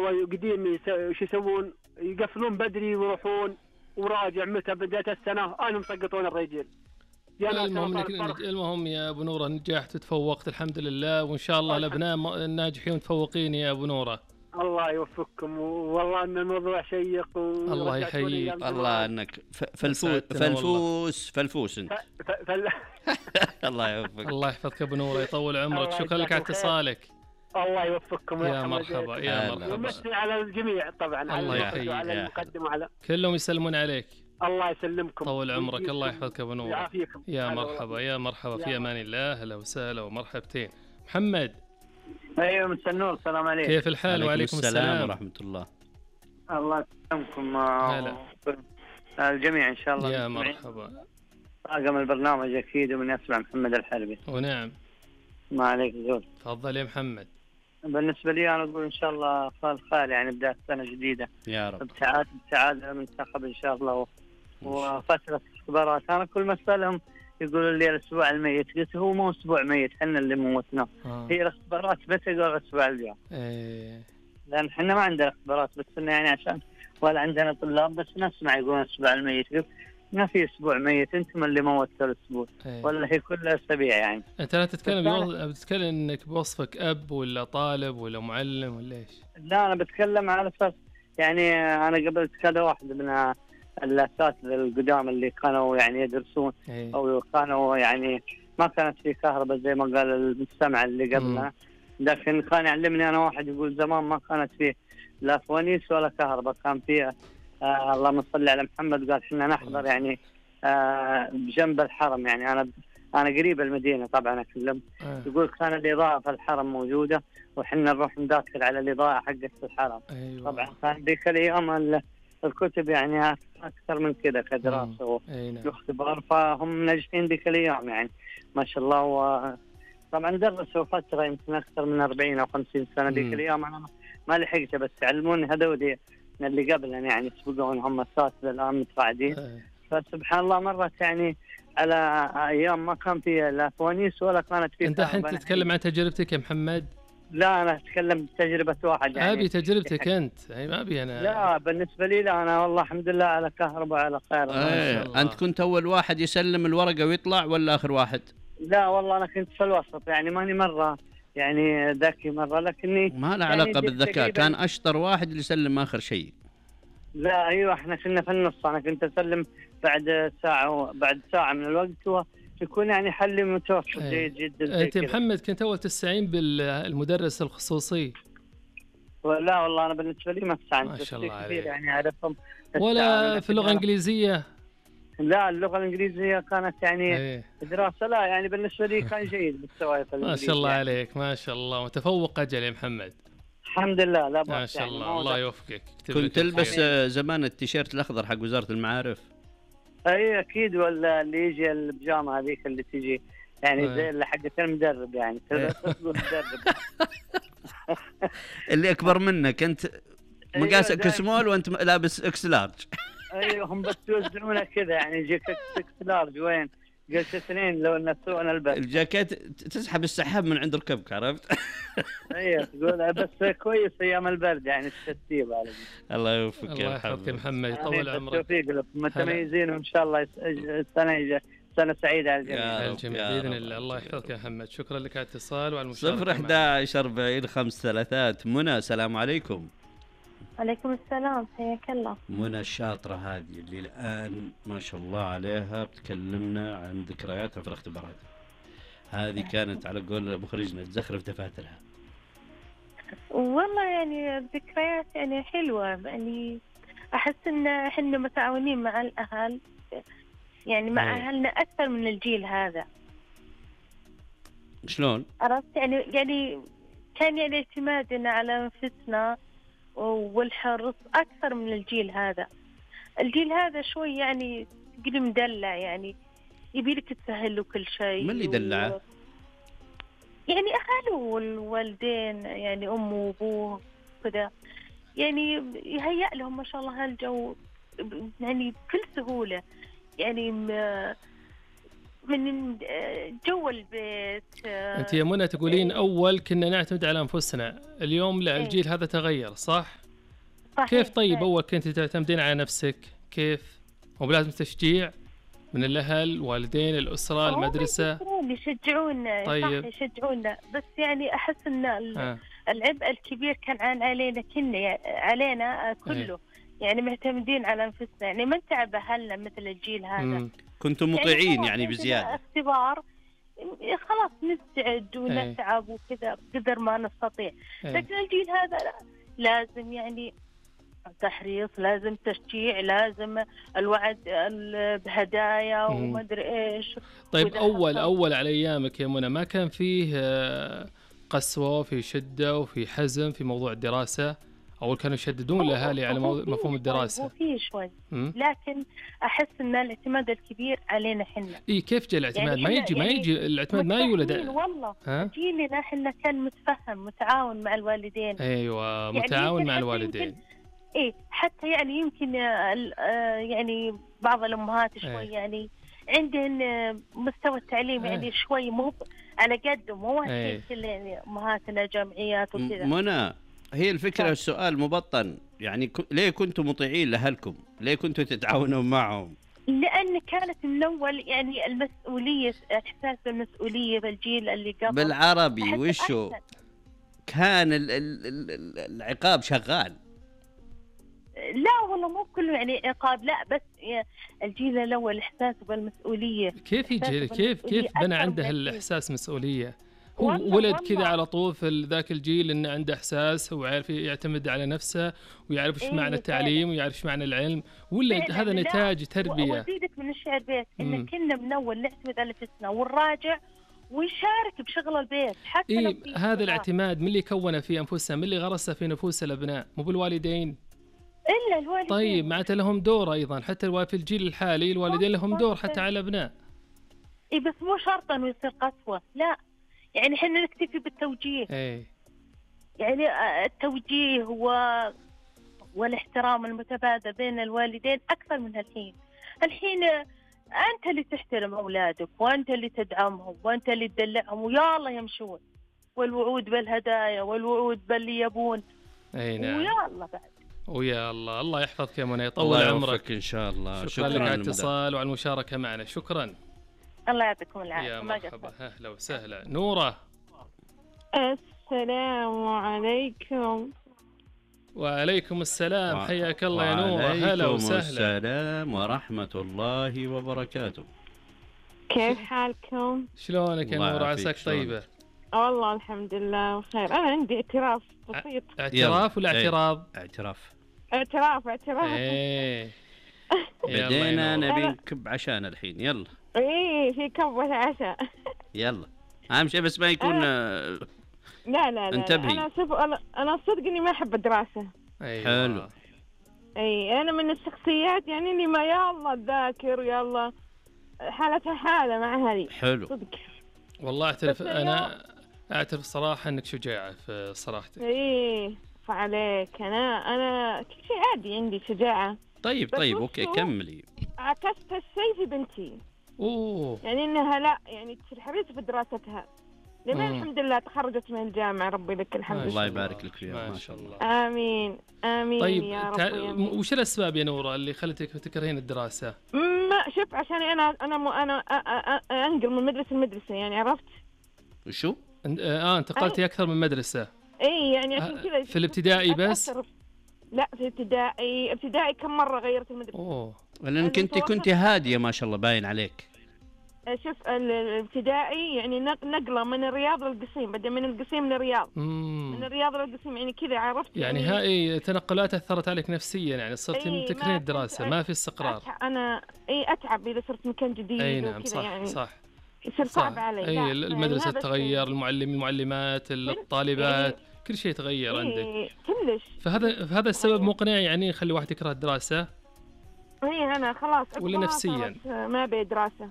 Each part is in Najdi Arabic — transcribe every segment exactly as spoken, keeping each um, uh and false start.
والله قديم شو يسوون يقفلون بدري ويروحون وراجع متى بداية السنة أنا مسقطون الرجل. المهم المهم يا أبو نورة نجحت وتفوقت الحمد لله، وإن شاء الله الأبناء الناجحين متفوقين يا أبو نورة. الله يوفقكم، والله ان الموضوع شيق الله يحييك. الله انك فلفوس فلفوس فلفوس انت فل... الله يوفقك. الله يحفظك ابو نور يطول عمرك. شكرا لك على اتصالك. الله يوفقكم يا مرحبا يا مرحبا. ومسي على الجميع طبعا، الله يحييك على المقدم وعلى كلهم يسلمون عليك. الله يسلمكم طول عمرك. الله يحفظك ابو نور. يا مرحبا يا مرحبا في امان الله. اهلا وسهلا ومرحبتين. محمد. ايوه مساء النور. السلام عليكم. كيف الحال؟ وعليكم السلام ورحمه الله. الله يسلمكم هلا الجميع ان شاء الله. يا مرحبا. طاقم البرنامج اكيد ومن يسمع محمد الحربي. ونعم ما عليك زول. تفضل يا محمد. بالنسبه لي انا اقول ان شاء الله خال خال يعني بدايه سنه جديده يا رب بسعاده بسعاده المنتخب ان شاء الله. وفتره اختبارات انا كل ما اسالهم يقولوا لي الاسبوع الميت، قلت هو مو اسبوع ميت، احنا اللي موتناه. آه. هي الاختبارات بس يقول الاسبوع الجاي. ايه لان احنا ما عندنا اختبارات، بس إنه يعني عشان ولا عندنا طلاب، بس نسمع يقولون الاسبوع الميت. ما في اسبوع ميت، انتم اللي موتوا الاسبوع. ايه. ولا هي كل اسابيع يعني. انت لا تتكلم بيوض... بتتكلم انك بوصفك اب ولا طالب ولا معلم ولا ايش؟ لا انا بتكلم على اساس يعني انا قبلت كذا واحد من الاساتذه القدام اللي كانوا يعني يدرسون. ايه. او كانوا يعني ما كانت في كهرباء زي ما قال المستمع اللي قبلنا، لكن كان يعلمني انا واحد يقول زمان ما كانت فيه لا فوانيس ولا كهرباء، كان فيه آه اللهم صل على محمد. قال احنا نحضر يعني آه بجنب الحرم، يعني انا انا قريب المدينه طبعا اكلم. اه. يقول كان الاضاءه في الحرم موجوده وحنا نروح نداخل على الاضاءه حقت الحرم. أيوة. طبعا كان ذيك الايام الكتب يعني اكثر من كذا كدراسه واختبار، فهم ناجحين ذيك الايام يعني ما شاء الله. و طبعا درسوا فتره يمكن اكثر من أربعين أو خمسين سنه ذيك الايام، انا ما لحقت بس علموني هذول اللي قبلنا يعني سبقون هم اساتذه الان متقاعدين. فسبحان الله مرت يعني على ايام ما كان في لا فوانيس ولا كانت في. انت الحين تتكلم عن تجربتك يا محمد؟ لا انا اتكلم بتجربه واحد يعني. ابي تجربتك انت يعني ما ابي انا. لا بالنسبه لي لا انا والله الحمد لله على كهرباء على خير. ايه انت كنت اول واحد يسلم الورقه ويطلع ولا اخر واحد؟ لا والله انا كنت في الوسط يعني ماني مره يعني ذكي مره، لكني ما له علاقه يعني بالذكاء، كان اشطر واحد اللي يسلم اخر شيء. لا ايوه احنا كنا في النص، انا كنت اسلم بعد ساعه بعد ساعه من الوقت ويكون يعني حلي متوسط جيد جدا. انت محمد كنت اول تستعين بالمدرس الخصوصي؟ لا والله انا بالنسبه لي ما استعنت. ما شاء الله عليك. يعني اعرفهم ولا في اللغه الانجليزيه؟ لا اللغه الانجليزيه كانت يعني ايه. دراسه لا يعني بالنسبه لي كان جيد مستواي في الانجليزيه. ما شاء الله يعني. عليك ما شاء الله متفوق اجل يا محمد. الحمد لله. لا ما شاء الله يعني الله يوفقك. كنت تلبس زمان التيشيرت الاخضر حق وزاره المعارف؟ اي اكيد، ولا اللي يجي البيجامه هذيك اللي تجي يعني زي اللي حقت المدرب يعني تقول مدرب اللي اكبر منك انت مقاسك أيوة سمول وانت لابس اكس لارج. ايوه هم بس يوزنونه كذا يعني يجيك اكس لارج وين قلت اثنين لو نسونا البس الجاكيت تسحب السحاب من عند ركبك عرفت. ايوه تقول بس كويس ايام البرد يعني الترتيب على الله يوفقك. الله يحفظك محمد يطول عمرك. بالتوفيق لكم متميزين وان شاء الله السنه الجايه سنه سعيده على الجميع. الجميع باذن الله. الله يحفظك يا محمد. شكرا لك على الاتصال وعلى المشاركه. صفر أحد عشر أربعين خمس ثلاثات. منى السلام عليكم. عليكم السلام حياك الله. منى الشاطرة هذه اللي الآن ما شاء الله عليها بتكلمنا عن ذكرياتها في الاختبارات. هذه كانت على قول مخرجنا تزخرف دفاترها. والله يعني الذكريات يعني حلوة، يعني أحس إن إحنا متعاونين مع الأهل يعني مع أهلنا أكثر من الجيل هذا. شلون؟ عرفت يعني يعني كان يعني اعتمادنا على أنفسنا والحرص أكثر من الجيل هذا. الجيل هذا شوي يعني تقولي مدلع، يعني يبيلك تسهل له كل شيء. من اللي دلعه؟ و... يعني أهله والوالدين يعني أمه وأبوه كذا، يعني يهيأ لهم ما شاء الله هالجو يعني بكل سهولة. يعني من جو البيت. أنت يا منى تقولين أول كنا نعتمد على أنفسنا، اليوم لا، الجيل هذا تغير، صح؟ صحيح. كيف طيب صحيح. أول كنت تعتمدين على نفسك، كيف؟ وبلازم تشجيع من الأهل، الوالدين، الأسرة، المدرسة؟ يشجعونا. طيب. صح يشجعونا، بس يعني أحس إن آه. العبء الكبير كان عن علينا كنا، يعني علينا كله. أي. يعني معتمدين على أنفسنا، يعني ما نتعب أهلنا مثل الجيل هذا. مم. كنتم مطيعين يعني, يعني بزيادة. اختبار خلاص نستعد ونتعب وكذا قدر ما نستطيع. أي. لكن الجيل هذا لا. لازم يعني تحريص، لازم تشجيع، لازم الوعد بهدايا وما ادري ايش. طيب اول حصل. اول على ايامك يا منى ما كان فيه قسوه، في شده وفي حزم في موضوع الدراسه؟ اول كانوا يشددون الاهالي على مفهوم الدراسه؟ وفي شوي، لكن احس ان الاعتماد الكبير علينا احنا. اي كيف جاء الاعتماد؟ يعني ما يجي ما يجي يعني الاعتماد ما يولد. والله جيلنا احنا كان متفهم متعاون مع الوالدين. ايوه متعاون يعني مع الوالدين. ايه حتى يعني يمكن يعني بعض الامهات شوي أيه. يعني عندهن مستوى التعليم أيه. يعني شوي مو على قده، مو أيه. كل يعني امهاتنا جامعيات وكذا. منى هي الفكره طيب. السؤال مبطن يعني ك... ليه كنتوا مطيعين لاهلكم؟ ليه كنتوا تتعاونون معهم؟ لان كانت من اول يعني المسؤوليه، احساس بالمسؤوليه بالجيل اللي قبل. بالعربي وشو كان ال... ال... ال... العقاب شغال؟ لا والله مو كله يعني عقاب، لا بس الجيل الاول احساسه بالمسؤوليه. كيف يجي كيف كيف بنى عنده الاحساس مسؤوليه؟ هو ولد كذا على طول في ذاك الجيل انه عنده احساس، هو عارف يعتمد على نفسه ويعرف ايش إيه معنى التعليم ويعرف ايش معنى العلم، ولا هذا نتاج تربيه؟ وازيدك من الشعر بيت ان كنا من اول نعتمد على نفسنا ونراجع ونشارك بشغل البيت حتى إيه لو هذا الاعتماد من اللي كونه في انفسنا، من اللي غرسه في نفوس الابناء، مو بالوالدين؟ إلا الوالدين. طيب معناته لهم دور أيضا، حتى في الجيل الحالي الوالدين لهم دور حتى على الأبناء. إيه بس مو شرط إنه يصير قسوة، لا يعني إحنا نكتفي بالتوجيه. إيه. يعني التوجيه و... والاحترام المتبادل بين الوالدين أكثر من الحين. الحين أنت اللي تحترم أولادك وأنت اللي تدعمهم وأنت اللي تدلعهم ويا الله يمشون، والوعود بالهدايا والوعود باللي يبون. أي نعم. ويا الله بعد. ويا الله الله يحفظك يا منى، يطول عمرك ان شاء الله. شكرا, شكرا لك على الاتصال وعلى المشاركه معنا، شكرا. الله يعطيكم العافيه. يا مرحبا، اهلا وسهلا. نوره. السلام عليكم. وعليكم السلام، حياك الله يا نوره. هلا وسهلا. وعليكم السلام ورحمه الله وبركاته. كيف حالكم؟ شلونك يا نوره؟ عساك طيبه؟ والله الحمد لله بخير. انا عندي اعتراف بسيط. اعتراف ولا اعتراض؟ اعتراف اعتراف اعتراف. ايه بدينا نبي نكب عشان الحين. يلا. ايه في كبة عشاء. يلا اهم شيء بس ما يكون أنا... لا لا لا انتبهي. انا شوف انا انا صدق اني ما احب الدراسة. أيوة. حلو. اي انا من الشخصيات يعني اللي ما يلا تذاكر يلا حالتها حالة مع هذه. حلو صدق والله اعترف انا اعترف صراحة انك شجاعة في صراحتك. ايه فعليك انا انا كل شيء عادي عندي شجاعة. طيب طيب اوكي كملي. عكست الشيء في بنتي. اوه يعني انها لا يعني تصير حريصة في دراستها. لما الحمد لله تخرجت من الجامعة، ربي لك الحمد. الله يبارك لك فيها ما شاء الله. امين امين. طيب يا رب. تع... وش الاسباب يا نورة اللي خلتك تكرهين الدراسة؟ ما شوف عشان انا انا م... انا أ... أ... أ... انقل من مدرسة لمدرسة يعني عرفت؟ وشو؟ اه انتقلتي اكثر من مدرسة. اي يعني عشان كذا. في الابتدائي بس؟ لا في ابتدائي ابتدائي كم مرة غيرت المدرسة. اوه لانك انت كنت هادية ما شاء الله باين عليك. شوف الابتدائي يعني نقله من الرياض للقصيم، بعدين من القصيم للرياض. مم. من الرياض للقصيم يعني كذا عرفت. يعني, يعني هاي تنقلات اثرت عليك نفسيا، يعني صرت ايه تكرهين الدراسه، ما في استقرار. انا اي اتعب اذا صرت مكان جديد. اي نعم صح يعني صح يصير صعب علي. اي المدرسه يعني تتغير، المعلم المعلمات الطالبات ايه كل شيء يتغير ايه عندك كلش. فهذا فهذا السبب مقنع يعني يخلي واحد يكره الدراسه. اي انا خلاص ولا نفسيا ما ابي دراسه.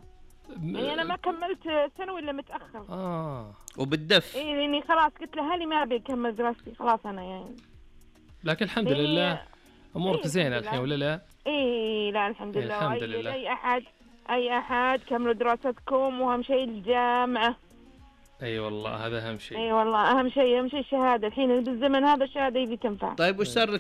يعني انا ما كملت ثانوي الا متاخر. اه وبالدف. اي لاني خلاص قلت لأهلي ما ابي اكمل دراستي خلاص انا يعني. لكن الحمد لله امورك إيه زينه الحين ولا لا؟ اي لا الحمد لله. الحمد لله. اي احد أي أحد كملوا دراستكم، وأهم شيء الجامعة. أي أيوة والله هذا أهم شيء. أي أيوة والله أهم شيء، أهم شيء الشهادة. الحين بالزمن هذا الشهادة يبي تنفع. طيب وش صار لك